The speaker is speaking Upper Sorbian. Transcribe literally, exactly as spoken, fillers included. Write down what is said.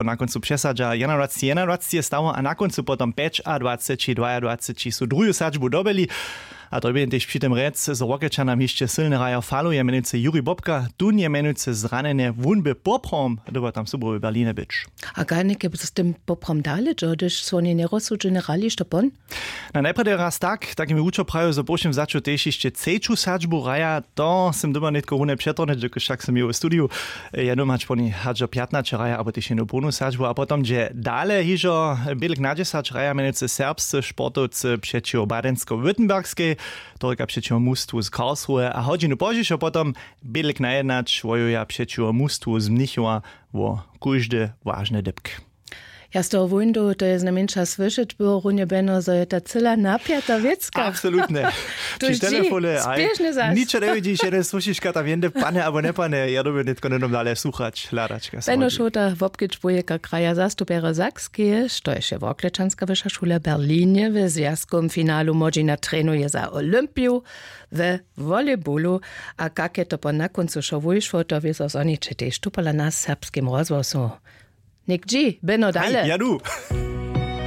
Na kóncu přesadźa jednadwaceći jednadwaceći je stało a na kóncu potom pjećadwaceći dwajadwaceći su druhu sadźbu dobyli. A to bě tež při tym rjec zo workečanam hišće sylny hrajo faluje mjenujcy juri bobka, tón je mjenujcy zranjenje wón by poprawom dyrbał tam subowy berlinje być. A kajnike z tym poprawom dale dźo hdyž su woni njerozsudźene hrali što pon? Na najprjedy raz tak tak mi wučo prajił zo po wšěm wzaću tež hišće třeću sadźbu hraja. To sym dyrbał nětko runje přetornyć dokelž wšak sym měł w studiju jednu hač poni hač do pjatnaće hraja abo tež jednu połnu sadźbu a potom dźe dale hižo bědlk na dźesać hraja mjenujcy serbscy sportowcy přećiwo badensko-württembergskej, to rěka přećiwo mustwu z karlsruhe a hodźinu pozdźišo potom bědlk na jednać wojuja přećiwo mustwu z mnichowa wo kóždy wažny dypk. Ja z toho wóńdu to je znajmjeńša słyšeć było runje beno zo je ta cyla napjata wěcka. Absolutnje. Při telefone a spěšny zas ničo njewidźiš jeden słyšiška tam jende pane abo njepane ja dyrbju nětko njenom dale słuchać hladačka. Beno šołta wobkedź bujeka kraja zastupjerjo sakskeje štož je worklečanska wyša šula w berlinje w zwjazkowym finalu młodźina trenuje za olympiju we volejbolu. A kak je to po na kóncu wšo wujšło to wězo zhoniće tež tu pola na serbskim rozhłosu. Něk dźi beno dale ja du.